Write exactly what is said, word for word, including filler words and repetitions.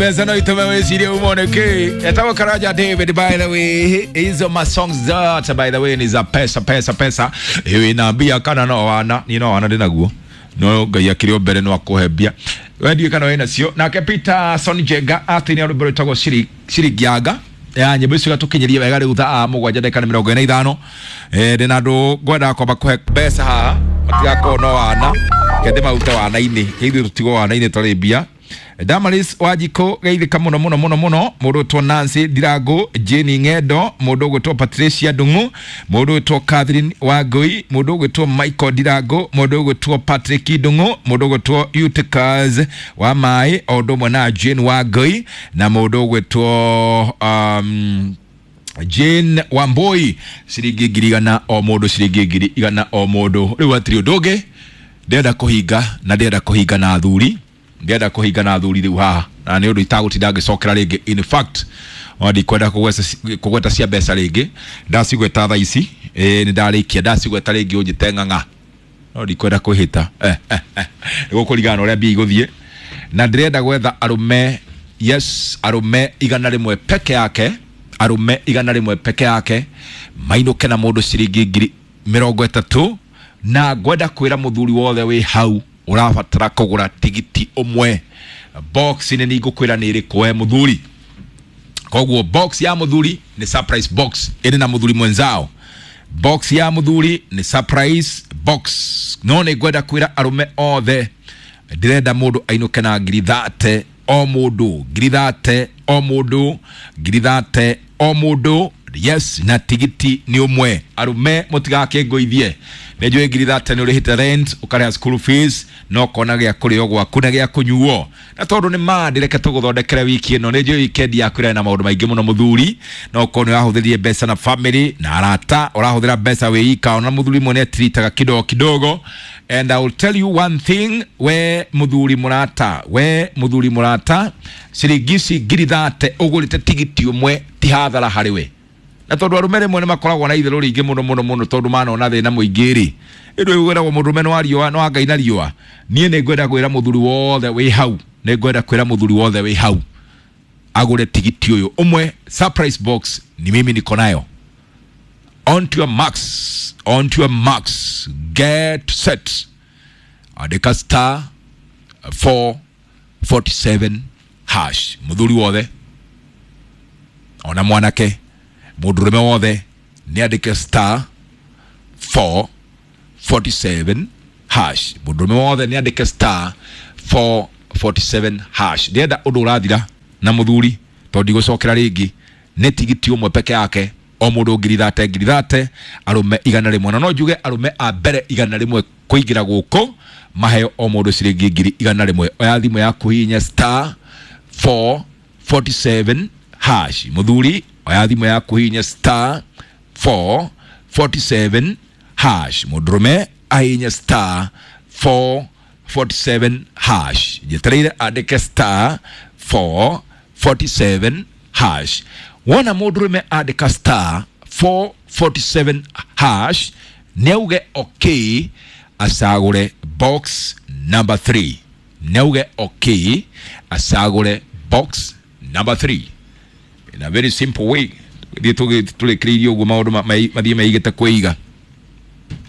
Mbeca no itume wicirie umone ki etagwo Karanja David. By the way, hizo ma songs zote, by the way, ni za pesa, pesa, pesa. Iwe na mbia kana no wana ni no wana ndinaguo no Ngai akiri mbere no akuhe mbia we ndiũ kana wĩna cio. Nake Peter Son Jenga atini rwĩmbo rwĩtagwo Shiri Shirigianga ya nyĩmbo icio gatũkinyirie wega rĩu thaa mũgwanja ndagĩka nĩ mĩrongo ĩna ithano. eh ndĩna andũ ngwendaga kwamba kũhe mbeca haha matigakorwo no wana kende marute wana-inĩ ithuĩ tũtigwo wana-inĩ tũrĩ mbia. Damaris Wajiko geithĩka mũno mũno mũno mũno. Mũndũ ũgwĩtwo Nancy Ndirango, Jane Ng'endo, mũndũ ũgwĩtwo Patricia Ndung'u, mũndũ ũgwĩtwo Catherine Wangui, mũndũ ũgwĩtwo Michael Ndirango, mũndũ ũgwĩtwo Patrick Ndung'u, mũndũ ũgwĩtwo Eutychus wa Maĩ, o ũndũ ũmwe na Jane Wangui na mũndũ ũgwĩtwo um, Jane Wambui. Ciringi ngiri igana o mũndũ, ciringi ngiri igana o mũndũ. Rĩu hatirĩ ũndũ ũngĩ ndĩrenda kũhinga na ndĩrenda kũhinga na athuri, ndĩrenda kũhinga na athuri rĩu haha na nĩ ũndũ itagũtinda ngĩcokera rĩngĩ. In fact, ona ndikwenda kũgweta kũgweta cia mbeca rĩngĩ, ndacigweta thaa ici ĩ nĩ ndarĩkia, ndacigweta rĩngĩ ũnjĩte ng'ang'a, no ndikwenda kwĩhĩta eh, eh, eh. Nĩguo kũringana na ũrĩa mbia igũthiĩ. Na ndĩrenda gwetha arũme, yes, arũme igana rĩmwe peke yake, arũme igana rĩmwe peke yake mainũke na mũndũ ciringi ngiri mĩrongo ĩtatũ. Na ngwenda kwĩra mũthuri wothe wĩ hau ũrabatara kũgũra tigiti ũmwe, box nĩ ningũkwĩra nĩ ĩrĩkũ we mũthuri. Koguo box ya mũthuri nĩ surprise box ĩrĩ na mũthuri mwenzao. Box ya mũthuri nĩ surprise box. No nĩ ngwenda kwĩra arũme othe ndĩrenda mũndũ ainũke na ngiri thate o mũndũ, ngiri thate o mũndũ, ngiri thate o mũndũ. Yes, na tigiti nĩ ũmwe. Arũme mũtigakĩngũithie, nĩ njũĩ ngiri thate nĩ ũrĩhĩte rent, ũkarĩha school fees na ũkona gĩa kũrĩo gwaku na gĩa kũnyuo. Na tondũ nĩ ma ndĩreke tũgũthondekere wiki ĩno, nĩ njũĩ weekend yaku ĩrarĩ na maũndũ maingĩ mũno mũthuri, no ũkorwo nĩ ũrahũthĩrire mbeca na family na arata, ũrahũthĩra mbeca wĩ ika, ona mũthuri mwene atiritaga kidogo kidogo. And I will tell you one thing, we mũthuri mũrata, we mũthuri mũrata, ciringi ici ngiri thate ũgũrĩte tigiti ũmwe ti hathara harĩ we. Na tondũ arũme rĩmwe nĩ makoragwo na itherũ rĩingĩ mũno mũno mũno tondũ manona thĩna mũingĩ rĩ, ĩndũ ĩgwĩragwo mũndũrũme nĩ wa riũa, nĩ wa Ngai na riũa. Niĩ nĩ ngwenda kwĩra mũthuri wothe wĩ hau, nĩ ngwenda kwĩra mũthuri wothe wĩ hau agũre tigiti ũyũ ũmwe surprise box, ni mimi niko nayo. On to your marks, on to your marks, get set. Andĩka star four forty-seven hash. Mũthuri wothe ona mwanake, mũndũrũme wothe nĩ andĩke star four forty-seven hash. Mũndũrũme wothe nĩ andĩke star four forty-seven hash. Ndĩrenda ũndũ ũrathira na mũthuri tondũ ndigũcokera rĩngĩ, nĩ tigiti ũmwe peke yake o mũndũ ngiri thate, ngiri thate, arũme igana rĩmwe. Na no njuge arũme a mbere igana rĩmwe kũingĩra gũkũ maheo o mũndũ ciringi ngiri igana rĩmwe. Oya thimũ yaku hihinya star four forty-seven hash. Mũthuri oya thimũ yaku hihinya star four forty-seven hash. Mũndũrũme ahihinye star four forty-seven hash. Njetereire andĩke star four forty-seven hash. Wona mũndũrũme andĩka star four forty-seven hash nĩ auge okay, acagũre box number three. Nĩ auge okay, acagũre box number three. In a very simple way thiĩ tũrĩkĩrĩirie ũguo maũndũ mathiĩ meigĩte kwĩiga.